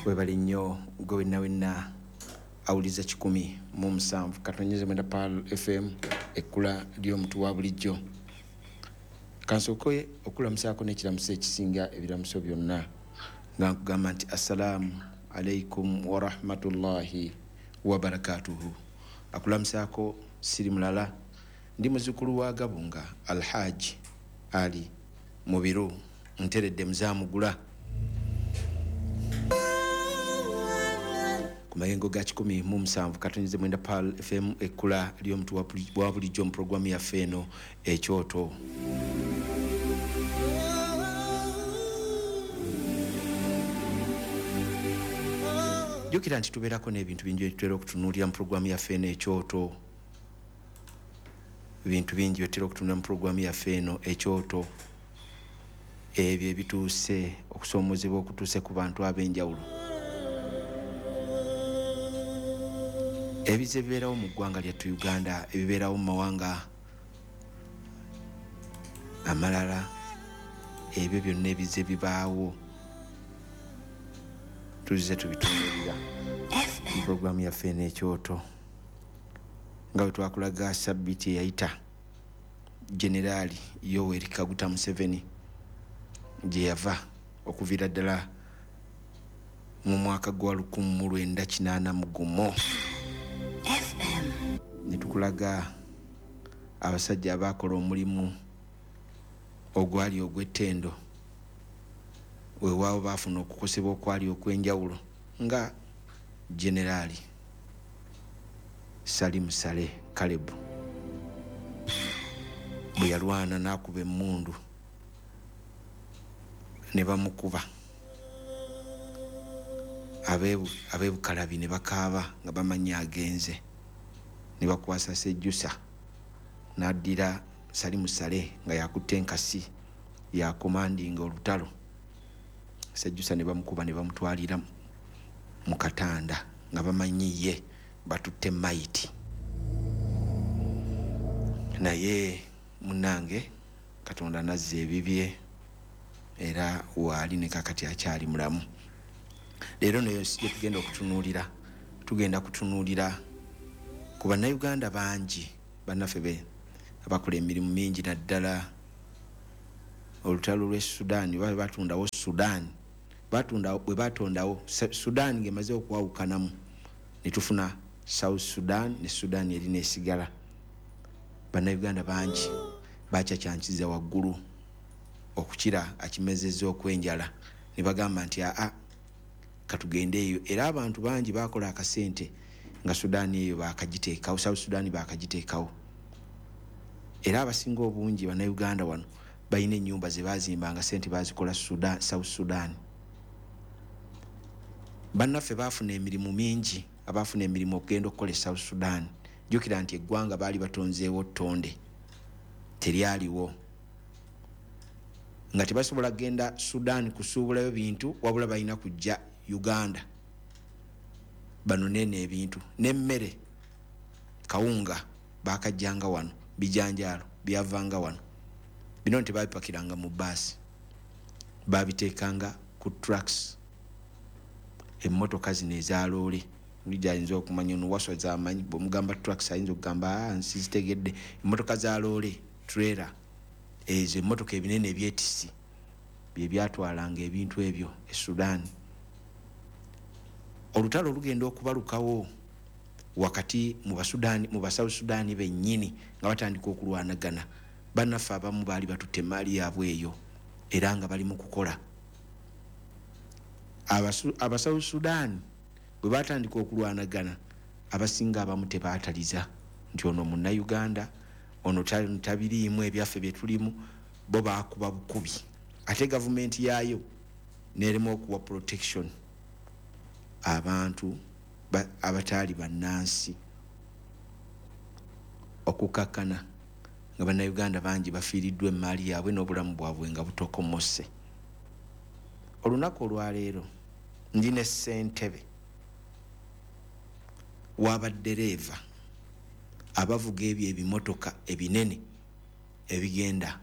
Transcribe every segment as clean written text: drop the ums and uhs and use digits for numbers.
Webale nnyo gwe wenna wenna awuliza 107.9 Pearl FM, ekkula ly'omuntu wa bulijjo. Kansooke okulamusaako n'ekiramuso ekisinga ebiramuso byonna, nga nkugamba nti assalaamu alaikum warahmatullahi wabarakatuhu. Akulamusaako siri mulala, ndi muzzukulu wa Gabunga Alhaji Ali Mubiru, nteredde muzaamugula ku mayengo ga 107.9 Pearl FM, ekkula ly'omuntu wa bulijjo mu puroguramu yaffe eno Ekyoto. Jjukira nti tubeerako n'ebintu bingi byetutera okutunuulira mu puroguramu yaffe eno Ekyoto. Ebintu bingi byetutera okutunuulira mu puroguramu yaffe eno Ekyoto, ebyo ebituuse okusoomozebwa okutuuse ku bantu ab'enjawulo, ebize bibeerawo mu ggwanga lyattu Uganda, ebibeerawo mu mawanga amalala, ebyo byonna ebize bibaawo tuzze tubitunuulira mu puroguramu yaffe eno Ekyoto. Nga bwe twakulaga sabbiiti eyayita, Generaali Yoweri Kaguta Museveni gye yava okuviira ddala mu mwaka gwa 1981, ne tukulaga abasajja abakola omulimu ogwali ogw'ettendo, weewaawo baafuna okukosebwa okwali okw'enjawulo, nga Generaali Salim Saleh Caleb bwe yalwana n'akuba emmundu ne bamukuba, ab'ebukalabi ne bakaaba nga bamanyi agenze, ne bakwasa Sejjusa n'addira Salim Saleh nga yakutte enkasi yakomandinga olutalo. Sejjusa ne bamukuba ne bamutwalira mu katanda nga bamanyi ye batutte mayiti. Naye munnange Katonda n'azza ebibye, era waali ne kakati akyali mulamu. Leero nayo gye tugenda okutunuulira, tugenda kutunuulira ku bannayuganda bangi bannaffe be abakola emirimu mingi, naddala olutalo lw'e Sudan. Batundawo Sudan, bwe batondawo Sudan ng'emaze okwawukanamu ne tufuna South Sudan ne Sudan eri n'esigala. Bannayuganda bangi bakyakyankiza waggulu okukira akimezezza okw'enjala, ne bagamba nti aa katugende eyo. Era abantu bangi bakola akasente nga Sudan eyo bakagiteekawo, South Sudan bakagiteekawo. Era abasinga obungi bannayuganda wano balina ennyumba ze bazimbanga sente bazikola South Sudan. Bannaffe baafuna emirimu mingi, abaafuna emirimu okugenda okukola e South Sudan. Jjukira nti eggwanga baali batonzeewo ttonde, teryaliwo, nga tebasobola kugenda Sudan kusuubulayo bintu, wabula balina kujja Uganda banonene ebintu n'emmere. Kawunga bakajjanga wano, bijanjaalo byavanga wano. Bino tebabipakiranga mu baasi, babiteekanga ku trucks, emmotoka zino ezaloole. Bulijjo ayinza okumanya ono waswa zamanyi, bw'omugamba trucks ayinza okugamba nsizitegedde. Emmotoka za loole, trailer ezo, emmotoka ebinene ebyetisi bye byatwalanga ebintu ebyo e Sudan. Olutalo olugenda okubalukawo wakati mu Basudani, mu Basouth Sudan bennyini nga batandika okulwanagana, bannaffe abamu baali batutte emaali yaabwe eyo era nga bali mu kukola. Abasouth Sudan bwe batandika okulwanagana, abasinga abamu tebaataliza nti ono munnayuganda, ono tabiriimu ebyaffe bye tulimu, bo baakuba bukubi. Ate gavumenti yaayo n'erema okuwa protection abantu abataali bannansi, okukakkana nga bannayuganda bangi bafiiriddwa emaali yaabwe n'obulamu bwabwe nga butokomose. Olunaku olwaleero ndi ne ssentebe w'abaddereeva abavuga ebyo ebimotoka ebinene ebigenda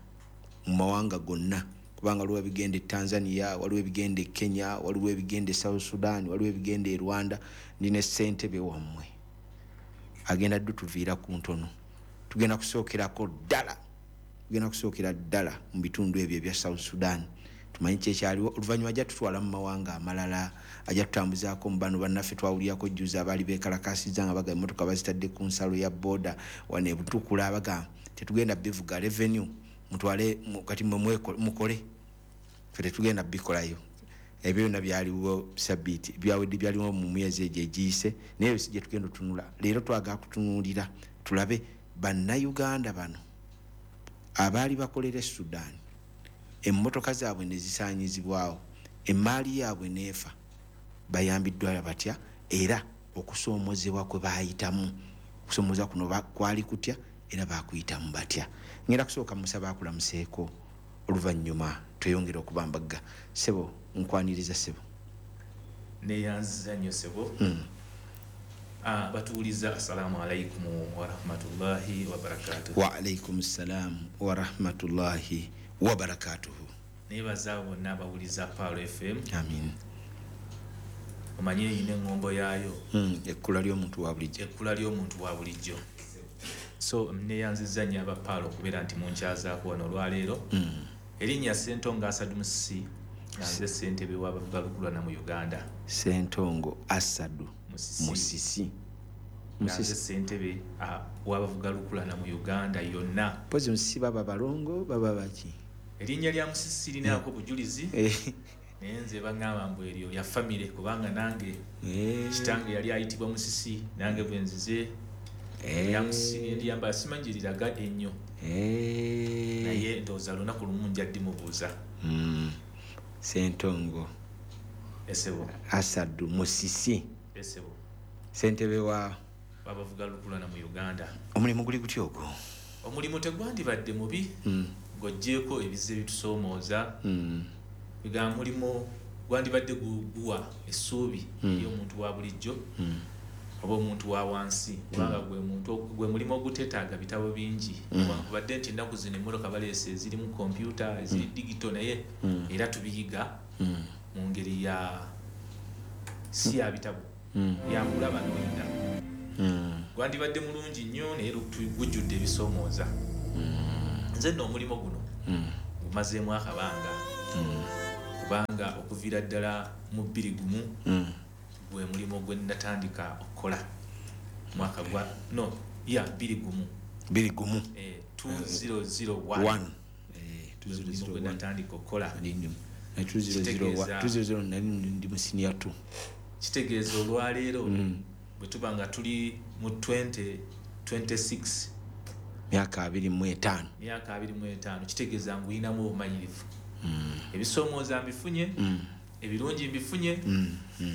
mu mawanga gonna Kubanga waliwo ebigenda e Tanzania, waliwo ebigenda e Kenya, waliwo ebigenda e South Sudan, waliwo ebigenda e Rwanda. Ndi ne ssentebe wammwe agenda ddutuviira ku ntono. Tugenda kusookerako ddala, tugenda kusookera ddala mu bitundu ebyo ebya South Sudan, tumanyi kyekyaliwo. Oluvannyuma ajja tutwala mu mawanga amalala, ajja tutambuzaako mu bano bannaffe twawulirako jjuza abaali beekalakasizza nga baga emmotoka bazitadde ku nsalo ya booda wano e Butukula, baga tetugenda bivuga, revenue mutwale kati mmwe mukole, ffe tetugenda bikolayo. Ebyo byonna byaliwo sabbiiti byawedde, byaliwo mu myezi egyo egiyise, naye si gye tugenda otunula leero. Twagala kutunuulira tulabe Bannayuganda bano abaali bakolera e Sudan, emmotoka zaabwe ne zisaanyizibwawo, emaali yaabwe neefa, bayambiddwa batya, era okusoomozebwa kwe baayitamu, okusoomoza kuno kwali kutya, era bakuyitamu batya. Ngenda kusooka musaba akulamuseeko, oluvannyuma tweyongere okubambagga. Ssebo, nkwaniriza ssebo. Neyanziza nnyo ssebo. Batuwuliza, assalamu alaikum warahmatullahi wabarakatuh. Wa alaikum ssalaamu warahmatullahi wabarakatuhu. Nebaza bonna abawuliza Pearl FM. Amin. Omanye eyina eŋŋombo yaayo. Ekkula ly'omuntu wa bulijjo. Ekkula ly'omuntu wa bulijjo. So neyanziza nnyo aba Pearl okubeera nti munkyazaako wano olwaleero. Erinnya Ssentongo Asadu Musisi, nga nze ssentebe w'abavuga lukulwana mu Uganda. Ssentongo Asadu Musisi. Musisi. Nga nze ssentebe w'abavuga lukulwana mu Uganda yonna. Mpozi Musisi baba balongo, baba baki? Erinnya lya Musisi linaako bujulizi, naye nze baŋŋamba mbu eryo lya famire, kubanga nange kitange yali ayitibwa Musisi, nange bwe nzize erya Musisi nendiyambala, simanyi liraga ennyo, naye ndowooza lunaku lumu nja ddimubuuza. Ssentongo Esebo. Asadu Musisi. Esebo. Ssentebe wa babavuga lukulwana mu Uganda. Omulimu guli gutya ogwo? Omulimu tegwandibadde mubi, ng'oggyeeko ebizibu ebitusoomooza. Bigamba mulimu gwandibadde guwa essuubi eri omuntu wa bulijjo oba omuntu wa wansi, kubanga gwe mulimu oguteetaaga bitabo bingi. Newankubadde nti ennaku zino emmotoka baleese ezirimu kompyuta, eziri digito, naye era tubiyiga mu ngeri ya si ya bitabo, yakulaba n'oyiga. Gwandibadde mulungi nnyo, naye gujjudde ebisoomooza. Nze nno omulimu guno gumazeemu akabanga, kubanga okuviira ddala mu 2001 gwe mulimu gwe natandika okukola. Mwaka gwa no ya 2001. 2001. 2001. One. Mulimu gwe natandika okukola. Na 2001, 2001 nali ndi mu senior 2. Kitegeeza olwaleero bwe tuba nga tuli mu 2026, myaka 25. Myaka 25, kitegeeza nguyinamu obumanyirivu. Ebisoomooza mbifunye, ebirungi mbifunye,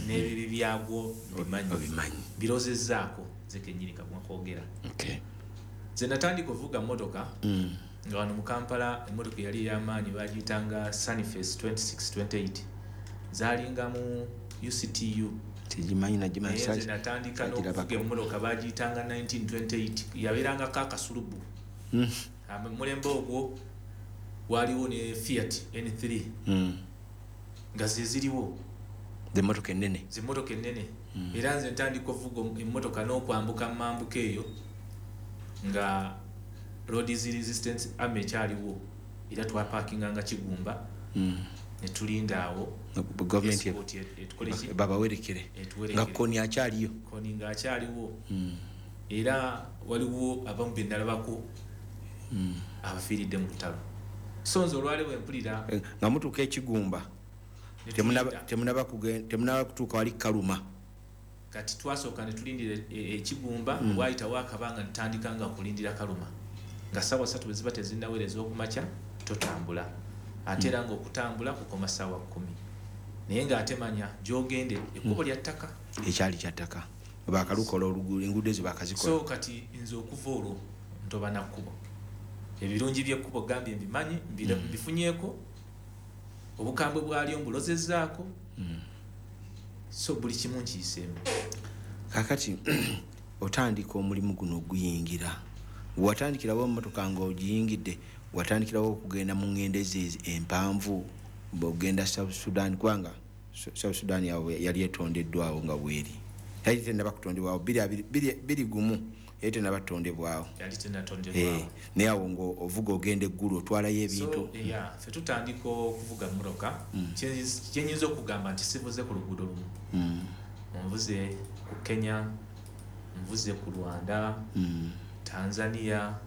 n'ebibi byagwo mbimanyi. Obimanyi. Birozezzaako nze kennyini kagwa kwogera. Nze natandika okuvuga mmotoka nga wano mu Kampala emmotoka eyali ey'amaanyi bagiyitanga Sunface 2628, zaalinga mu UCTU. Tegimanyi nagimanyi. Naye nze natandika n'okuvuga emmotoka bagiyitanga 1928, yabeerangako akasulubu. Mulembe ogwo waliwo ne Fiat N3 nga ze ziriwo. Zemmotoka ennene. Zemmotoka ennene. Era nze ntandika okuvuga emmotoka n'okwambuka mambuka eyo nga Road Resistance Army ekyaliwo, era twapakinganga Kigumba ne tulinda awo gavumenti escort etukole ki? Babawerekere. Etuwerekere. Nga Kony akyaliyo. Kony ng'akyaliwo. Era waliwo abamu be nalabako abafiiridde mu lutalo. So nze olwaleero bwe mpulira Nga mutuuka Ekigumba, ne tulinda. Temunaba kutuuka wali Kaluma. Kati twasooka ne tulindira Ekigumba, waayitawo akabanga ntandika nga kulindira Kaluma. Nga ssaawa 3 bwe ziba tezinnaweereza ez'okumakya totambula. Ate era ng'okutambula kukoma ssaawa 10. Naye ng'ate manya gy'ogende ekkubo lya ttaka. Ekyali kya ttaka. Baakalukola oluguudo, enguudo ezo baakazikola. So kati nze okuva olwo ntoba na kkubo. Ebirungi by'ekkubo gambye mbimanyi, mbifunyeeko. Obukambwe bwalyo mbulozezzaako. So buli kimu nkiyiseemu. Kaakati otandika omulimu guno oguyingira. Watandikirawo emmotoka ng'ogiyingidde, Watandikirawo okugenda mu ngendo empanvu, ogenda South Sudan, kubanga South Sudan yali etondeddwawo nga bweri, yali tennaba kutondebwawo 2021, yali tennaba kutondebwawo. Yali tennatondebwawo. Naye awo ng'ovuga ogenda eggulu otwalayo ebintu. Ffe tutandika okuvuga mmotoka, kyenyinza okugamba nti sivuze ku luguudo lumu. Nvuze ku Kenya, nvuze ku Rwanda, Tanzania,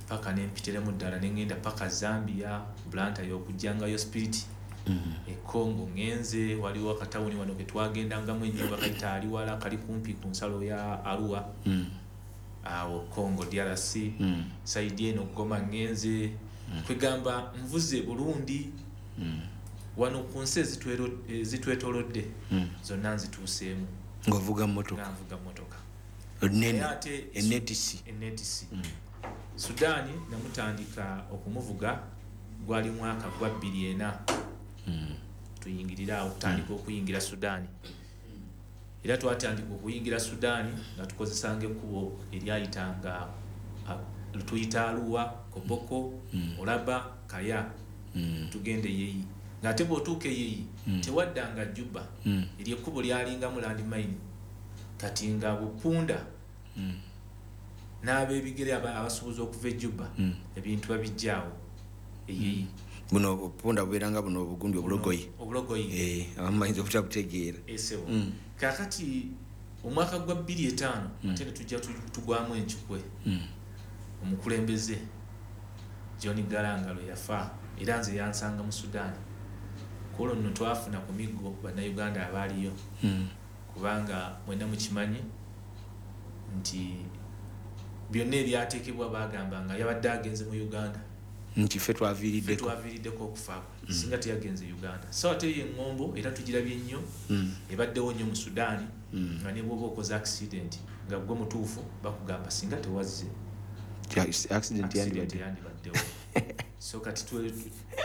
paka nempitiremu ddala nengenda paka Zambia, Blantyre y'okujjangayo spirit. E Congo ngenze, waliwo akatawuni wano ke twagendangamu ennyo bakayita Aliwala, kali kumpi ku nsalo ya Arua. Awo Congo DRC, side eno Goma ngenze. Kwegamba nvuze Burundi. Wano ku nsi ezitwetoolodde zonna nzituuseemu. Ng'ovuga mmotoka? Nga nvuga mmotoka. Enetisi. Enetisi. Sudaani namutandika okumuvuga gwali mwaka gwa 2004. Tuyingirira awo tutandika okuyingira Sudaani. Era twatandika okuyingira Sudaani nga tukozesanga ekkubo eryayitanga tuyita Arua, Koboko, Olaba, Kaya. Tugende Yeyi. Ng'ate bw'otuuka Yeyi tewaddanga Juba. Eryo ekkubo lyalingamu landmine. Kati nga bupunda n'ab'ebigere abasuubuzi okuva e Juba ebintu babijjaawo Eyeyi. Buno obupunda bubeeranga buno obugundi obulogoyi. Obulogoyi. Abamu bayinza obutabutegeera. Esebo. Kaakati omwaka gwa 2005 ate ne tujja tugwamu enkikwe. Omukulembeze John Garang lwe yafa, era nze yansanga mu Sudan. Ku olwo nno twafuna ku miggo bannayuganda abaaliyo. Kubanga mwenna mukimanyi nti byonna ebyateekebwa baagamba nga yabadde agenze mu Uganda. Nti ffe twaviiriddeko. Twaviiriddeko okufaako. Singa teyagenze Uganda. So ate ye eŋŋombo era tugirabye nnyo, ebaddewo nnyo mu Sudan, nga ne bw'oba okoze accident nga ggwe mutuufu bakugamba singa tewazze. Accident yandibaddewo. So kati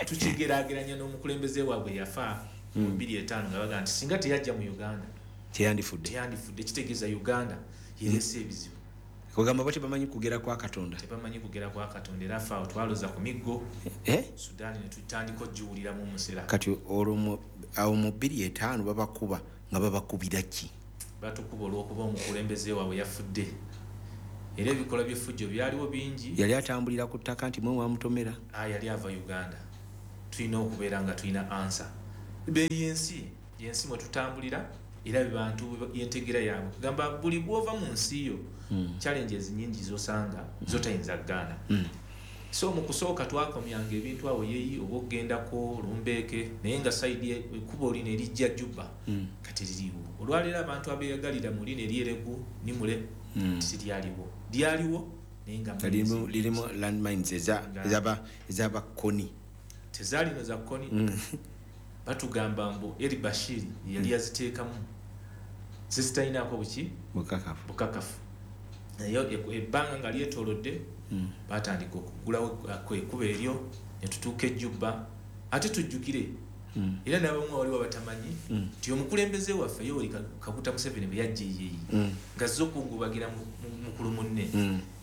tukigeraageranya n'omukulembeze waabwe yafa mu 2005 nga bagamba nti singa teyajja mu Uganda teyandifudde. Teyandifudde, kitegeeza Uganda yereese ebizibu. Kugamba bo tebamanyi kugera kwa Katonda. Tebamanyi kugera kwa Katonda, era ffe awo twaloza ku miggo. Sudan ne tutandika okugiwuliramu omusera. Kati olwo awo mu 2005 babakuba nga babakubira ki? Batukuba olw'okuba omukulembeze waabwe yafudde. Era ebikolwa by'effujjo byaliwo bingi. Yali atambulira ku ttaka nti mwe mwamutomera? Yali ava Uganda. Tulina okubeera nga tulina ansa. Yensi mwe tutambulira, era bantu yentegera yaabwe. Kugamba buli bw'ova mu nsi yo, challenges nnyingi z'osanga z'otayinza kugaana. So mu kusooka twakomyanga ebintu awo Yeyi oba okugendako Lumbeeke, naye nga side ekkubo lino erijja Juba kati liriwo. Olwaleero abantu abeeyagalira mu lino ery'Eregu Nimule tiryaliwo. Lyaliwo naye nga lirimu landmines ez'abakoni. Tezaalino za koni. Batugamba mbu Eli Bashir yali yaziteekamu zisitalinaako buki? Bukakafu. Naye ebbanga nga lyetoolodde batandika okugulawo ekkubo eryo ne tutuuka e Juba. Ate tujjukire era n'abamu waliwo abatamanyi nti omukulembeze waffe Yoweri Kaguta Museveni bwe yajja Eyeyi ng'azze okungubagira mukulu munne,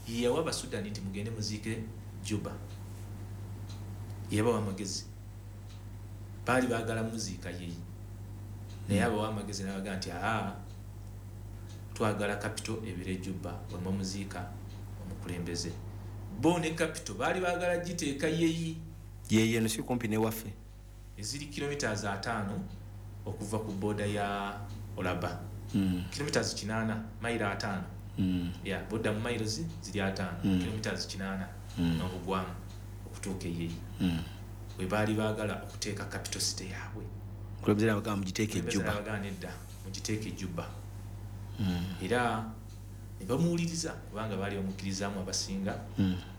ye yawa Abasudani nti mugende muziike Juba. Yabawa amagezi. Baali baagala muziika Yeyi, naye abawa amagezi n'abagamba nti twagala capital ebeere Juba bwe muziika omukulembeze. Bo ne capital baali baagala giteeka Yeyi. Yeyi eno si kumpi ne waffe. Eziri kilometers 5 okuva ku boda ya Olaba. Kilometers 8, mayiro 5. Ya boda mu mayiro ziri 5, kilometers 8 n'obugwamu okutuuka Eyeyi. We baali baagala okuteeka capital city yaabwe. Omukulembeze n'abagamba mugiteeke Juba. N'abagamba nedda, mugiteeke Juba. Era ne bamuwuliriza kubanga baali bamukkirizaamu abasinga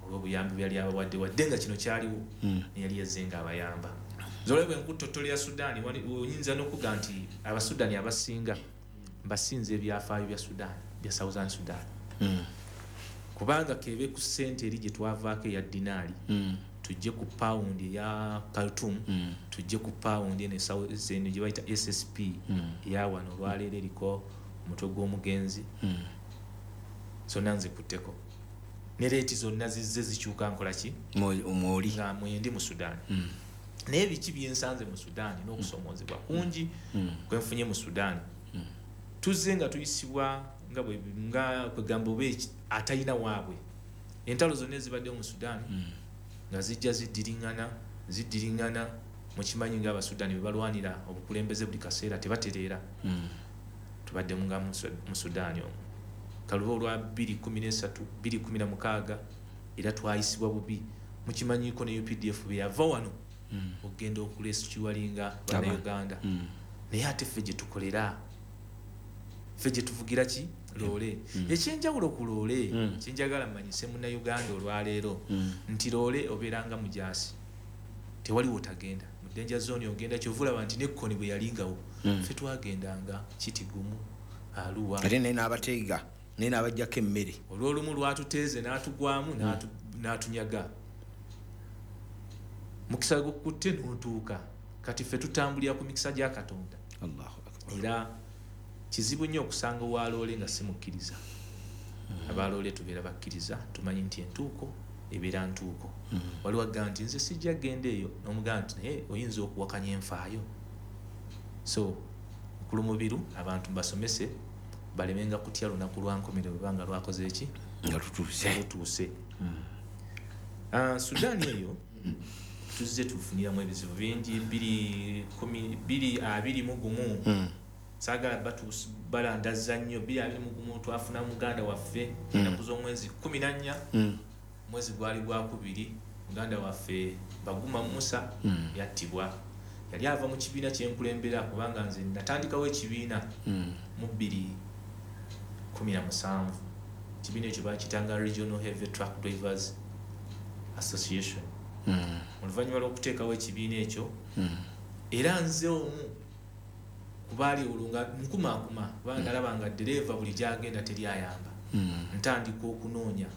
olw'obuyambi bwe yali abawadde, wadde nga kino kyaliwo ne yali yazze ng'abayamba. Nze bwe nkuttotolera Sudan, oyinza n'okugamba nti Abasudani abasinga mbasinze ebyafaayo bya Sudan, bya Southern Sudan. Kubanga kebe ku ssente eri gye twavaako eya dinaali, tujje ku pound eya Khartoum, tujje ku pound eno gye bayita SSP eya wano olwaleero eriko omutwe gw'omugenzi. Zonna nzikutteko. Ne rate zonna zizze zikyuka nkola ki? Mwoli. Nga mwendi mu Sudan. Naye biki byensanze mu Sudan n'okusomoozebwa kungi kwenfunye mu Sudan. Tuzze nga tuyisibwa nga bwe nga kwegamba oba atalina waabwe. Entalo zonna ezibaddewo mu Sudan nga zijja ziddiringana mukimanyi nga Abasudani bwe balwanira obukulembeze buli kaseera tebatereera. Tubaddemu nga mu Sudan omwo. Kaluba olwa 2013, 2016 era twayisibwa bubi. Mukimanyiiko ne UPDF bwe yava wano okugenda okurescualinga Bannayuganda. Naye ate ffe gye tukolera, ffe gye tuvugira ki? Loole. Ekyenjawulo ku loole, kyenjagala mmanyise Munnayuganda olwaleero nti loole obeeranga mujaasi, tewaliwo otagenda. Mu danger zone ogenda, kyova olaba nti n'ekkoni bwe yalingawo ffe twagendanga Kitigumu, Arua. Ate naye n'abateega, naye n'abaggyako emmere. Olw'olumu lwatuteeze n'atugwamu n'atunyaga. Mukisa gukutte n'otuuka. Kati ffe tutambulira ku mikisa gya Katonda. Allahu Akbar. Era kizibu nnyo okusanga owaloole nga simukkiriza. Abaloole tubeera bakkiriza, tumanyi nti entuuko ebeera ntuuko. Waliwo agamba nti nze sijja kugenda eyo, n'omugamba nti naye oyinza okuwakanya enfaayo. So Mukulu Mubiru abantu mbasomese balemenga kutya lunaku lwa nkomerero bwe nga lwakoze ki? Nga lutuuse. Lutuuse. Sudan eyo tuzze tufuniramu ebizibu bingi. 2021 saagala balandaza nnyo. 2021 twafuna muganda waffe ennaku z'omwezi 14, mwezi gwali gwakubiri, muganda waffe Baguma Musa yattibwa. Yali ava mu kibiina kyenkulembera, kubanga nze natandikawo ekibiina mu 2017. Ekibiina ekyo bakitanga Regional Heavy Truck Drivers Association. Oluvannyuma lw'okuteekawo ekibiina ekyo, era nze omu kubaali olwo nga nkumaakuma, kubanga nalaba nga ddereeva buli gy'agenda teri ayamba. Ntandika okunoonya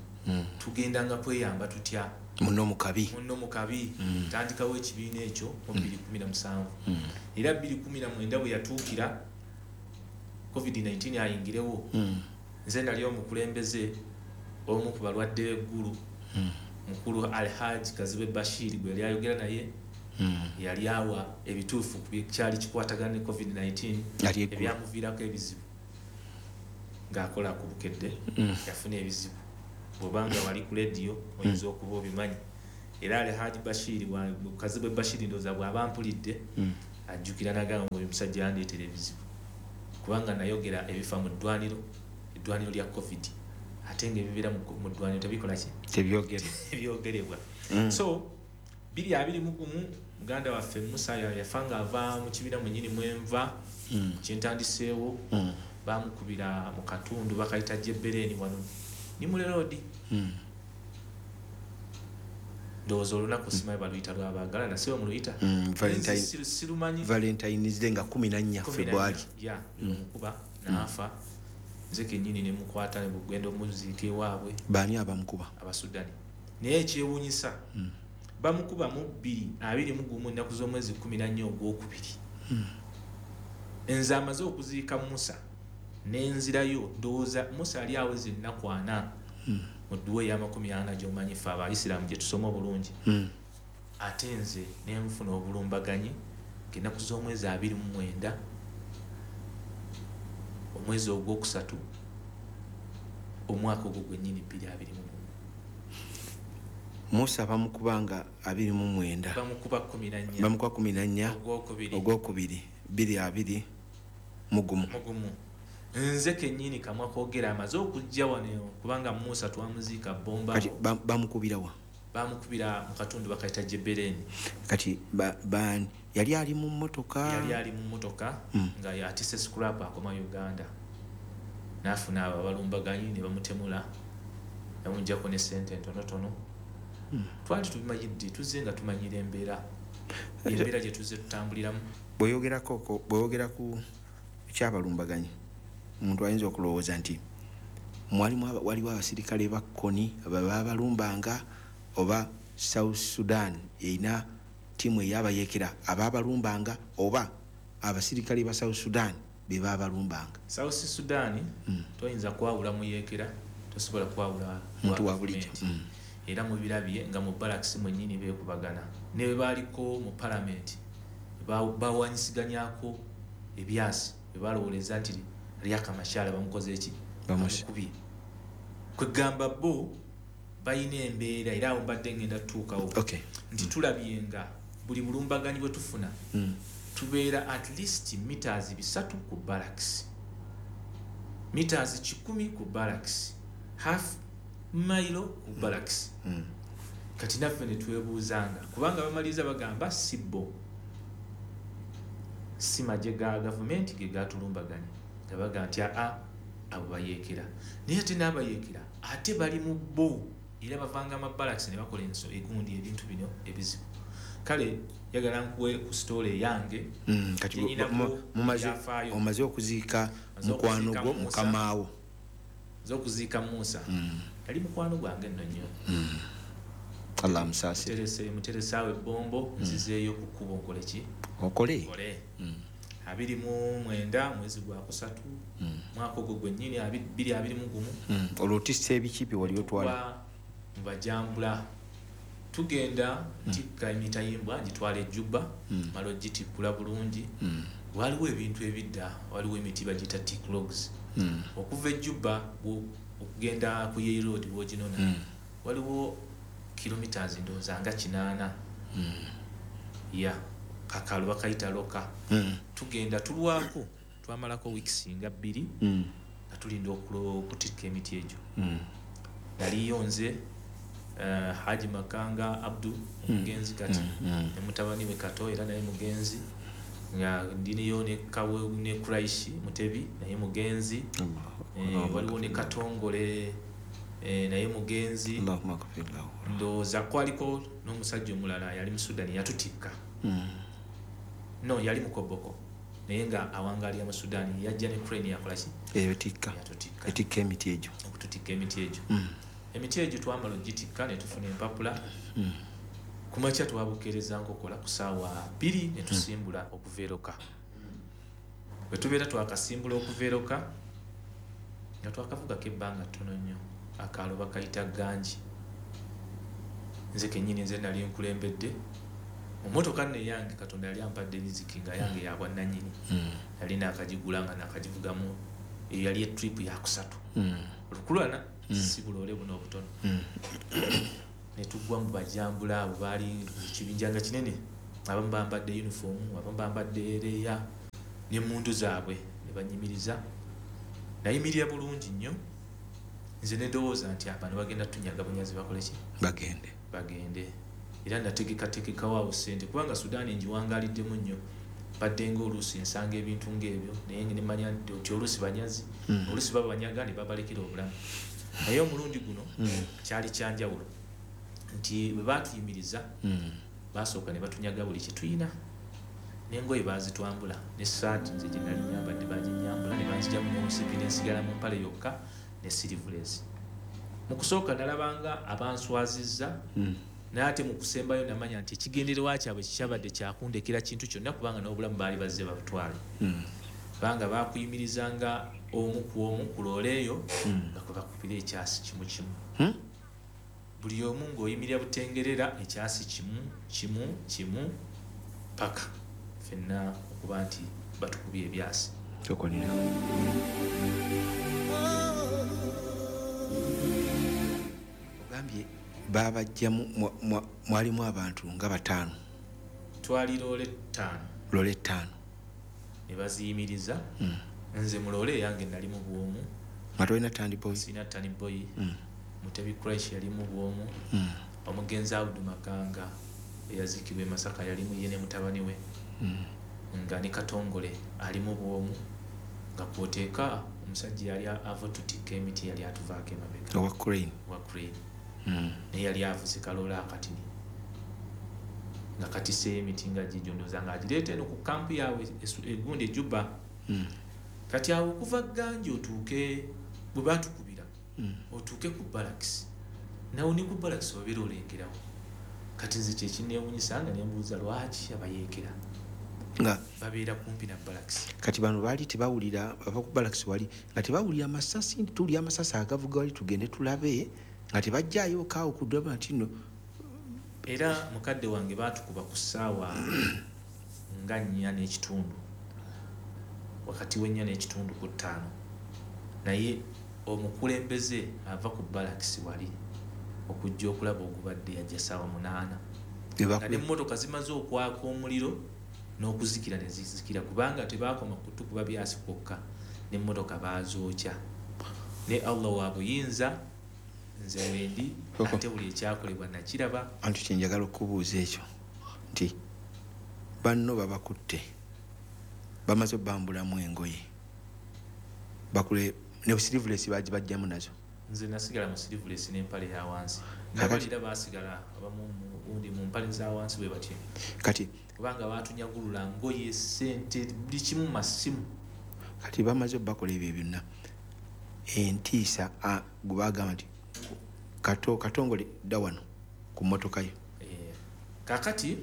tugendanga kweyamba tutya munno mu kabi. Munno mu kabi. Ntandikawo ekibiina ekyo mu 2017. Era 2019 bwe yatuukira COVID-19 ayingirewo, nze nali omukulembeze omu ku balwadde b'eggulu, mukulu Alhaji Kazibwe Bashir gwe yali ayogera naye, yali awa ebituufu ku kyali kikwatagana ne COVID-19 ebyamuviirako ebizibu ng'akola ku Bukedde. Yafuna ebizibu, bw'obanga wali ku lediyo oyinza okuba obimanyi. Era Alhaji Bashir Kazibwe Bashir ndowooza bw'aba mpulidde ajjukira n'agamba nti oyo omusajja yandeetera ebizibu, kubanga nayogera ebifa mu ddwaniro, eddwaniro lya COVID, ate ng'ebibeera mu ddwaniro tebikola ki? Tebyogerebwa. So 2021 muganda waffe Musa yafa ng'ava mu kibiina mwennyini mwenva kyentandiseewo. Bamukubira mu katundu bakayita Jebbereni wano ni Muleroodi. Ndowooza olunaku simanyi baluyita lwabaagala nasiwe muluyita. Sirumanyi. Valentine's Day nga 14 February. Ya, mukuba n'afa. Nze kennyini ne mukwata ne bugenda omuziika ewaabwe. Baani abamukuba? Abasudani. Naye ekyewuunyisa, bamukuba mu 2021 ennaku z'omwezi 14 ogwokubiri. Nze amaze okuziika Musa n'enzirayo, ndowooza Musa ali aweza ennaku 40 mu dduwa ey'amakumi ana gy'omanyi ffe Abayisiraamu gye tusoma obulungi. Ate nze ne nfuna obulumbaganyi ng'ennaku z'omwezi 29 omwezi ogwokusatu omwaka ogwo gwennyini 2021. Musa bamukubanga 29. Bamukuba 14. Bamukuba 14 ogwokubiri. Ogwokubiri 2021. Mugumu. Nze kennyini kamwa koogera amaze okujja wano, kubanga Musa twamuziika Bomba. Kati bamukubira wa? Bamukubira mu katundu bakayita Jebbereni. Kati yali ali mu mmotoka? Yali ali mu mmotoka nga yatisse scrap akoma Uganda. N'afuna abo abalumbaganyi ne bamutemula, bamuggyako ne ssente entonotono. Twali tubimanyidde, tuzze nga tumanyira embeera. Embeera gye tuzze tutambuliramu. Bw'oyogera ku kyabalumbaganyi, omuntu ayinza okulowooza nti waliwo abasirikale ba Kony ababalumbanga, oba South Sudan erina ttiimu ey'abayeekera abaabalumbanga, oba abasirikale ba South Sudan be baabalumbanga. South Sudan toyinza kwawula muyeekera Tosobola kwawula muntu wa bulijjo. Era mubirabye nga mu barracks mwennyini beekubagana. Ne bwe baaliko mu palamenti bawanyisiganyako ebyasi, bwe balowooleza nti Riek Machar bamukoze eki? Bamukubye. Kwegamba bo balina embeera, era awo mbadde ngenda tutuukawo. Nti tulabye nga buli bulumbaganyi bwe tufuna tubeera at least meters 300 ku barracks, meters 100 ku barracks, half mile ku barracks. Kati naffe ne twebuuzanga, kubanga bamaliriza bagamba si bo, si magye ga gavumenti ge gatulumbaganye, nga bagamba nti aa abo bayeekera. Naye ate n'abayeekera ate bali mu bo, era bavanga ama barracks ne bakola egundi ebintu bino ebizibu. Kale yagala nkuwe ku story yange. Kati omaze okuziika mukwano gwo mukamaawo. Nze okuziika Musa. Yali mukwano gwange nno nnyo. Allah amusaasire. Muteresaawo ebbombo, nzizeeyo ku kkubo nkole ki? Okole. 29 mwezi gwa kusatu, mwaka ogwo gwennyini 2021. Olwo otisse ebiki bye wali otwala? Mubajambula. Tugenda ntikka emitayimbwa ngitwala ejjuba, mala ogitikkula bulungi. Waliwo ebintu ebidda, waliwo emiti bagiyita tick logs. Okuva ejjuba okugenda ku Yei Road w'oginona, waliwo kilometers ndowooza nga 8. Ya kakalo bakayita loka. Tugenda tulwako, twamalako weeks nga 2 nga tulinda okutikka emiti egyo. Naliyo nze Haji Makanga Abdu omugenzi kati, ne mutabani we Kato era naye mugenzi, nga ndiniyo ne Kawe ne Kuraishi Mutebi naye mugenzi, waliwo ne Katongole naye mugenzi. Ndowooza kwaliko n'omusajja omulala yali mu Sudan yatutikka. No, yali mukoboko naye nga awangalira mu Sudan, yajja ne crane yakola ki? Etikka. Etikka emiti egyo. Okututikka emiti egyo. Emiti egyo twamala ogitikka ne tufuna empapula. Ku makya twabukeereza nkokola ku ssaawa 2 ne tusimbula okuva eroka. Bwe tubeera twakasimbula okuva eroka nga twakavugako ebbanga ttono nnyo, akaalo bakayita Ganji. Nze kennyini nze nali nkulembedde. Mu mmotoka nno eyange Katonda yali ampadde riziki nga yange ya bwannannyini. Nali naakagigula nga naakagivugamu, eyo yali etrip ya kusatu. Olukulwana si buloole buno obutono. Ne tugwa mu bajambula abo baali ekibinja nga kinene, abamu bambadde uniform, abamu bambadde ereya n'emmundu zaabwe ne banyimiriza. Nayimirira bulungi nnyo, nze ne ndowooza nti abano bagenda tunyaga bunyazi bakole ki? Bagende. Era nategekategekawo awo ssente, kubanga Sudan ngiwangaaliddemu nnyo, badde ng'oluusi nsanga ebintu ng'ebyo, naye ne mmanya nti oluusi banyazi, oluusi babanyaga ne babalekera obulamu. Naye omulundi guno kyali kyanjawulo nti bwe baatuyimiriza basooka ne batunyaga buli kye tuyina, n'engoye baazitwambula, n'essaati nze gye nali nyambadde baginyambula ne banzigyamu n'omusipi ne nsigala mu mpale yokka ne sirivulezi. Mu kusooka nalabanga abanswazizza, naye ate mu kusembayo namanya nti ekigendererwa kyabwe kikyabadde kyakundekera kintu kyonna, kubanga n'obulamu baali bazze babutwale. Kubanga baakuyimirizanga omu ku omu ku loole eyo nga kwe bakubira ekyasi kimu kimu. Buli omu ng'oyimirira butengerera ekyasi kimu kimu kimu paka ffenna okuba nti batukubye ebyasi. Ogambye babajjamu mwalimu abantu nga 5. Twali loole 5. Loole 5. Ne baziyimiriza. Nze mu loole yange nali mu bwomu. Nga tolina tandboy? Sirina tandboy. Mutebi Kuraishi yali mu bwomu. Omugenzi Abdu Makanga eyaziikibwa e Masaka yalimu ye ne mutabani we. Nga ne Katongole ali mu bwomu, nga kw'oteeka omusajja yali ava tutikka emiti yali atuvaako emabega. Owa crane. Owa crane. Naye yali avuze kaloola akatini nga katiseeyo emiti nga gigyo, ndowooza ng'agireeta eno ku kampu yaabwe egundi ejjuba. Kati awo okuva Ganja otuuke bwe baatukubira, otuuke ku barracks, nawo ne ku barracks obeera olengerawo. Kati nze kye kinneewuunyisa nga ne mbuuza lwaki abayeekera. Nga Babeera kumpi na balakisi. Kati bano baali tebawulira, bava ku balakisi wali nga tebawulira masasi, nti tuwulira amasasi agavuga wali, tugende tulabe, nga tebajjaayo kaawo kudaba nti no. Era mukadde wange baatukuba ku ssaawa nga 4:30, wakati w'4:45 ku 5, naye omukulembeze ava ku balakisi wali okujja okulaba ogubadde yajja ssaawa 8. Nga n'emmotoka zimaze okwaka omuliro n'okuzikira ne zizikira, kubanga tebaakoma kutukuba byasi kwokka, n'emmotoka baazookya. Ne Allah wa buyinza, nze wendi, ate buli ekyakolebwa nakiraba. Anti kye njagala okubuuza ekyo nti banno babakutte, bamaze obbambulamu engoye, bakule ne sleeveless bagibajjamu nazo. Nze nasigala mu sleeveless n'empale ya wansi. Nabalira baasigala abamu gundi mu mpale za wansi bwe batyo. Kati kubanga baatunyagulula ngoye, ssente, buli kimu, masimu. Kati bamaze obbakola ebyo byonna, entiisa gwe bagamba nti Katongole dda wano ku mmotoka yo. Kaakati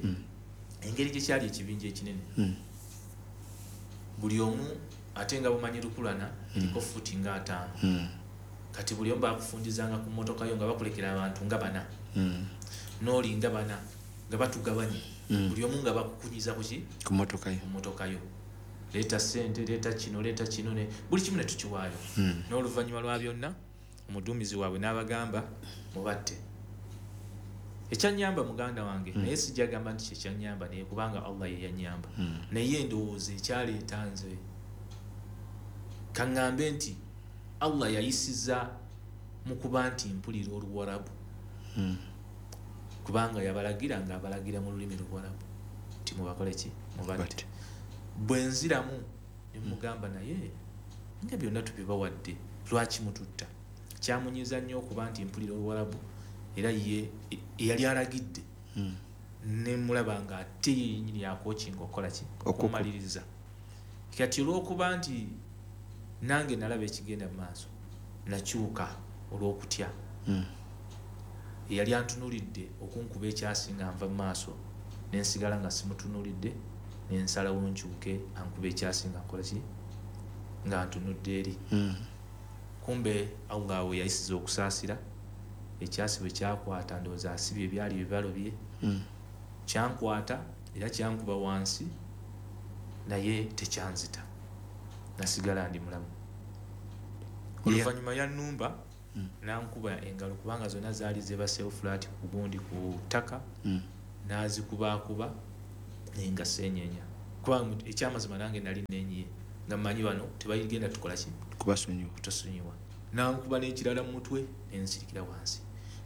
engeri gye kyali ekibinja ekinene, buli omu ate nga bumanyi lukulana eriko futi nga 5. Kati buli omu bakufundizanga ku mmotoka yo nga bakulekera abantu nga 4, n'oli nga 4, nga batugabanye. Buli omu nga bakukunyiza ku ki? Ku mmotoka yo. Ku mmotoka yo. Leeta ssente, leeta kino, leeta kino, ne buli kimu ne tukiwaayo. N'oluvannyuma lwa byonna omuduumizi waabwe n'abagamba mubatte. Ekyannyamba muganda wange, naye sijja gamba nti kyekyannyamba, naye kubanga Allah ye yannyamba. Naye ndowooza ekyaleeta nze kaŋŋambe nti Allah yayisiza mu kuba nti mpulira Oluwarabu. Kubanga yabalagira ng'abalagira mu lulimi Luwarabu nti mubakole ki? Mubatte. Bwe nziramu ne mugamba naye nga byonna tubibawadde, lwaki mututta? Kyamunyiiza nnyo okuba nti mpulira Oluwarabu, era ye eyali alagidde ne mulaba nga ate ye yennyini yakookinga okukola ki? Okumaliriza. Kati olw'okuba nti nange nalaba ekigenda mu maaso, nakyuka olw'okutya. Eyali antunuulidde okunkuba ekyasi nga nva mu maaso, ne nsigala nga simutunuulidde, ne nsalawo nkyuke ankuba ekyasi nga nkola ki? Nga ntunudde eri. Kumbe Allah we yayisiza okusaasira, ekyasi bwe kyakwata ndowooza asibye ebyali bibalo bye. Kyankwata era kyankuba wansi, naye tekyanzita, nasigala ndi mulamu. Oluvannyuma yannumba n'ankuba engalo, kubanga zonna zaali zeebaseewo flat ku gundi ku ttaka, n'azikubaakuba naye nga seenyeenya, kubanga ekyamazima nange nali neenyiye nga mmanyi bano tebayigenda tukola ki? Kubasonyiwa. Kutusonyiwa. N'ankuba n'ekirala mu mutwe ne nsirikira wansi.